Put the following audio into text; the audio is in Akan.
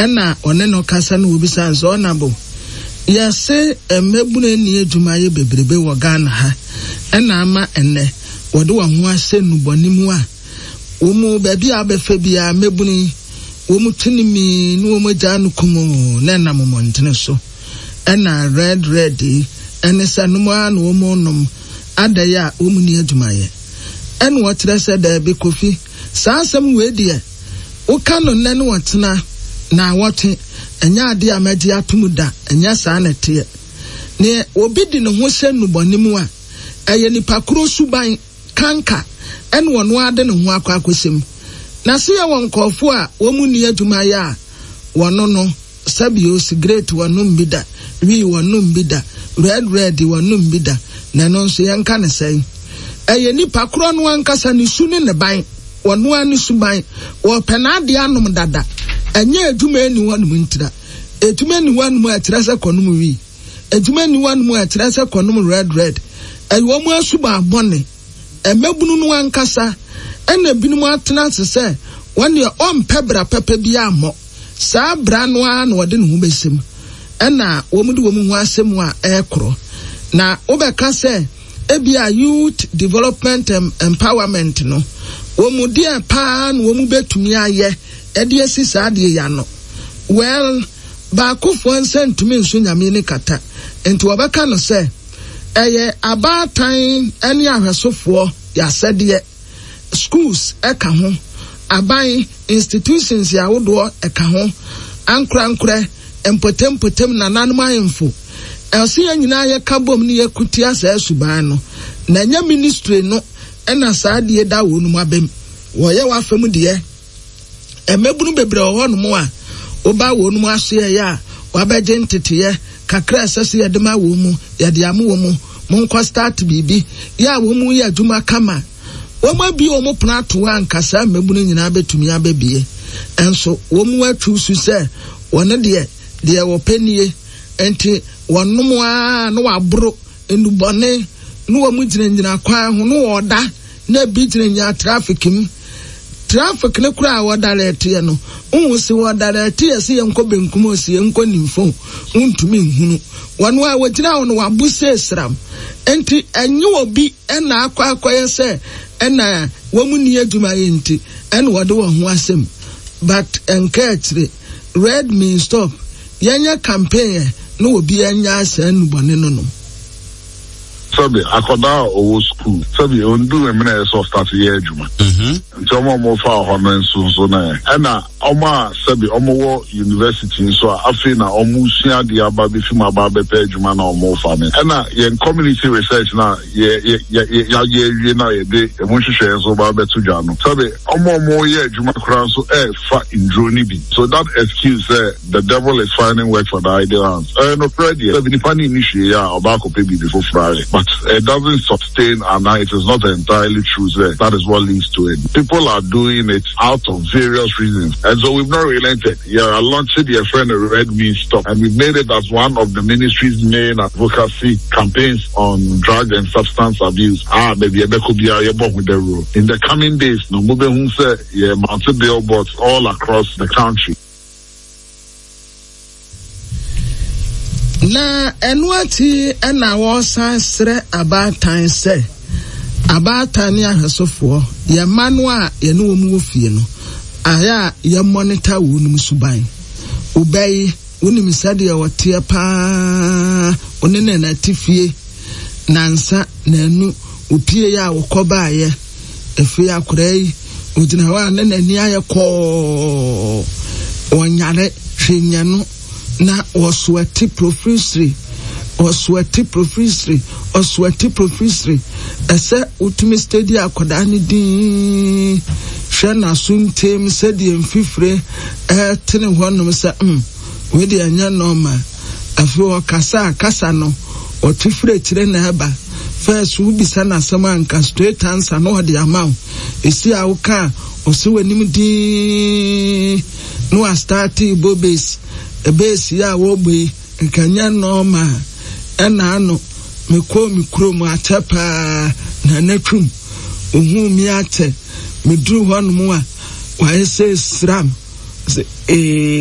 Ɛna ɔne no kasa na wɔbisa no sɛ, Ɔnabo, yɛse mmabunu nni adwuma yɛ bebrebe wɔ Ghana ha, ɛna ama ɛnnɛ wɔde wɔn ho ahyɛ nnubɔne mu a, wɔn baabi a wobɛfa biara mmabunu yi, wɔn twe no mii na wɔn agyaa no kumoo na ɛnam mmɔntene so. Ɛna red red yi, ɛne sɛ nom ara na wɔn nom, adɛn a wɔn nni adwuma yɛ. Ɛna ɔkyerɛ sɛ daabi Kofi, saa asɛm wei deɛ, Woka no nnɛ ne ɔkyena, naawɔtwe, ɛnyɛ adeɛ a mɛgye atom da, ɛnyɛ saa na ɛteɛ. Neɛ obi de ne ho hyɛ nnubɔne mu a, ɛyɛ nipa koro suban, kanka, ɛna ɔno ara de ne ho akɔ akɔhyɛ mu. Na se yɛwɔ nkorɔfoɔ a wɔn nni adwuma yɛ a, wɔno no, sɛbio, sigaret wɔnnom bi da, wii wɔnnom bi da, red red wɔnnom bi da, na ɛno nso yɛnka no sɛn? Ɛyɛ nipa korɔ no ankasa ne su ne ne ban. Ɔno ara ne suban. Ɔrepɛ n'adeɛ anom dada. Ɛnyɛ adwuma nni hɔnom ntira. Adwuma nni hɔnom a ɛkyerɛ sɛ kɔnom wii. Adwuma nni hɔnom a ɛkyerɛ sɛ kɔnom red red. Ɛyɛ wɔn asuban bɔne. Mmabunu no ankasa ɛna ebinom atena ase sɛ wɔn deɛ ɔmpɛ bra papa biara mmɔ. Saa bra no ara na ɔde ne ho bɛhyɛ mu. Ɛna wɔde wɔn ho ahyɛ mu a ɛrekorɔ. Na wobɛka sɛ. Ebia Youth Development and Empowerment no, wɔn deɛn paa na wɔn bɛtumi ayɛ de asi saa adeɛ yi ano? Well, baakofoɔ nsa ntumi nso Nyame ani kata, nti wɔbɛka no sɛ ɛyɛ abaatan ne ahwɛsofoɔ yɛ asɛdeɛ. Schools ka ho, aban institutions ahodoɔ ka ho, ankorankorɛ, mpɔtam mpɔtam nananom ahemfo. Ɛwɔ sɛ yɛn nyinaa yɛka bom na yɛko tia saa suban no. Na ɛnyɛ ministry no na saa adeɛ da wɔn mu abam. Wɔyɛ w'afa mu deɛ. Mmabunu bebree wɔ hɔnom a woba wɔn mu asoɛeɛ a wɔabɛgye nteteeɛ kakra a ɛsɛ sɛ yɛde ma wɔn mu, yɛde ama wɔn mu. Monkɔ start biribi. Yɛ a wɔn mu yɛ adwuma kama. Wɔn abue wɔn pono ato hɔ a anka saa mmabunu nyinaa bɛtumi abɛbie. Nso wɔn mu atwiw su sɛ wɔn deɛ, deɛ wɔpɛ nie. Nti wɔnom ara na wɔaboro nnubɔne na wɔn gyinagyina kwan ho na wɔda na ebi gyinagyina traffic mu. Traffic no koraa a wɔdarɛɛteɛ no, wohu se wɔdarɛɛte yɛ se yɛnkɔ benkum o se yɛnkɔ nimfa o, wontumi nhunu. Wɔn a wɔgyina hɔ no wɔabo sɛ sram. Enti ɛnyɛ obi na akɔ akɔyɛ sɛ ɛna wɔn nni adwuma yɛ nti ɛna wɔde wɔn ho ahyɛ mu. But ɛnka akyire. Red means stop. Yɛnyɛ campaign ɛ na obiara nnyae saa nnubɔne no nom. Sɛbi akɔdaa a ɔwɔ sukuu, sɛbi ɔnduu mmerɛ a ɛsɛ ɔstarte yɛ adwuma. Nti ɔmo a ɔmo fa hɔ no nso nso no ɛ? Ɛna ɔmo a sɛbi ɔmo wɔ university nso a afei na ɔmo resua adeɛ aba abɛfi mu aba abɛpɛ adwuma na ɔmo refa no. Ɛna yɛn community research no a yɛ yɛ yɛ yɛayɛ awie no a yɛde ɛmu nhwehwɛeɛ nso reba abɛto dwa no, sɛbi ɔmo a ɔmo reyɛ adwuma koraa nso ɛrefa nnuro no bi. So that excuse sɛ The devil is finding work for the idle hands. Ɛyɛ nokorɛ deɛ, sɛbi nipa no nni hwee yɛ a, ɔba akɔpɛ biribi foforɔ ayɛ. But it doesn't sustain anaa it is not entirely true sɛ that is what leads to it. People are doing it out of various reasons and so we've not relented. Yɛ alaunche deɛ yɛfrɛ no Red Means Stop and we've made it as one of the ministry's main advocacy campaigns on drug and substance abuse a baabi a yɛbɛkɔ biara yɛbɔ ho dawuro. In the coming days no, mobɛhu sɛ yɛ mounte billboards all across the country. Na ɛno akyi na wɔsan srɛ abaatan sɛ, Abaatan ne ahwɛsofoɔ, yɛn mma no a yɛne wɔn wɔ fie no, ayɛ a yɛmmɔneta wɔnom suban. Wo ba yi, wonim sɛdeɛ ɔteɛ paa, wo ne no na ɛte fie, nansa, nanu, wopieeɛ a wokɔbaeɛ, Afei akwadaa yi, ɔgyina hɔ a na n'ani ayɛ kɔɔ, ɔnyare, hwee nyɛ no, na ɔsoɛte profusely, ɔsoɛte profusely, ɔsoɛte profusely. Ɛsɛ wotumi steady akwadaa no dinn, hwɛ n'aso ntem sɛdeɛ mfifire ɛretene hɔnom sɛ mm, wei deɛ ɛnyɛ normal. Afei ɔkasa a, kasa no ɔtwe firi akyire na ɛba. First wobisa no asɛm a nka straight answer na ɔde ama wo. Esi a woka a, ɔsɛ w'anim dinn na wastarte bɔ bass. Bass yi a wɔbɔ yi, nka nyɛ normal. Ɛna ano, mekɔɔ me kurom akyɛ paa, Nana Twum, ohuu me akyɛ. Meduru hɔnom a, wayɛ sɛ sram. Ɔse, ee.